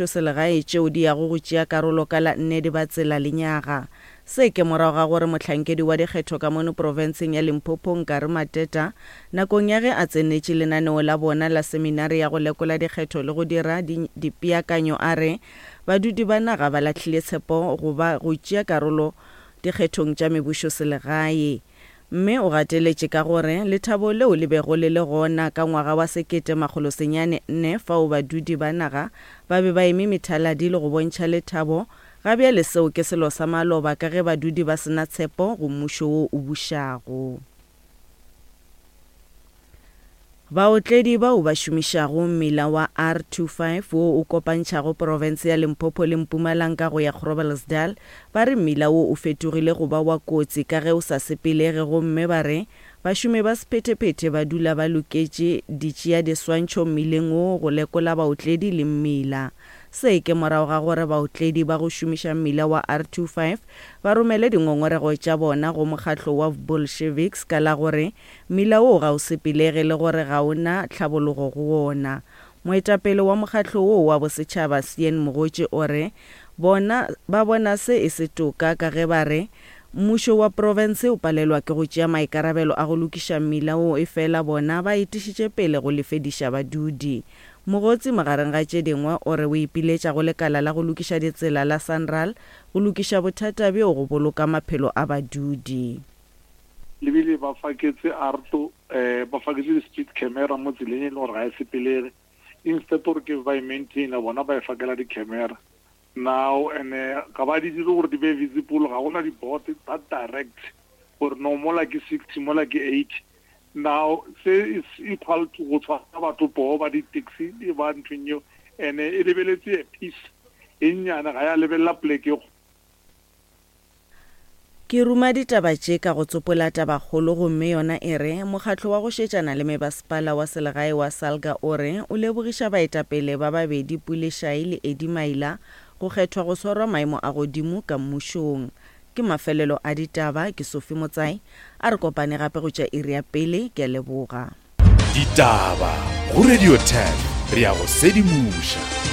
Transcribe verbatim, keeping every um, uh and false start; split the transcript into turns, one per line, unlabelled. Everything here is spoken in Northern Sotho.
mebušoselegae tšeo di yago go tšea karolo ka la nne Dibatsela lenyaga. Se ke morago ga gore mohlankedi wa dikgetho ka mono profenseng ya Limpopo Nkari Mateta nakong ya ge a tsenetše lenaneo la bona la seminari ya go lekola dikgetho le go dira dipeakanyo a re badudi ba naga ba lahlile tshepo go ba go tšea karolo dikgethong tša mebušoselegae. Mme o gateletše ka gore lethabo leo le bego le le gona ka ngwaga wa sekete makgolo senyane nne fao badudi ba naga ba be ba eme methaladi le go bontšha lethabo, ga bjale seo ke selo sa maloba ka ge badudi ba sena tshepo go mmušo wo o bušago. Baotledi bao ba šomišago mmila wa R twenty-five wo o kopantšhago profense ya Limpopo le Mpumalanga go ya Groblersdal ba re mmila wo o fetogile go ba wa kotsi ka ge o sa sepelege, gomme ba re bašomi ba sephethephethe ba dula ba loketše ditšea diswantšho mmileng wo go lekola baotledi le mmila. Se ke morago ga gore baotledi ba go šomiša mmila wa R twenty-five ba romele dingongorego tša bona go mokgatlo wa Bolsheviks ka la gore mmila wo ga o sepelege le gore ga o na tlhabologo go wona. Moetapele wa mokgatlo wo wa bosetšhaba Sean Mogotsi o re bona ba bona se e se toka ka ge ba re mmušo wa profense o palelwa ke go tšea maikarabelo a go lokiša mmila wo, efela bona ba etišitše pele go lefediša badudi. Mogotsi magareng ga tše dingwe o re o ipiletša go lekala la go lokiša ditsela la Sanral go lokiša bothata bjo go boloka maphelo a badudi.
Lebile ba faketse arto, eh, ba faketse di-speed camera mo tseleng e leng gore ga e sepelege. Instead gore ke ba e maintaina, bona ba e fakela di-camera. Now, and ga ba di dire gore di be visible, ga gona di-board that direct gore no mola ke sixty, mola ke eighty. Now, se is equal to go tshwara batho poo ba di-taxi e ba nthong eo, and e lebeletse a piece e nnyane, ga ya lebelela poleke e.
Ke ruma ditaba tše ka go tsopola tabakgolo, gomme yona e re mokgatlo wa go šetšana le mebasepala wa selegae wa Salga o re o lebogiša baetapele ba babedi Pule Shai le Eddie Maila go kgethwa go swarwa maemo a godimo ka mmušong. Ke mafelelo a ditaba, ke Sophie Motsai, a re kopane gape go tša iri ya pele, ke a leboga.
Ditaba go Radio ten, re ya go sedimoša.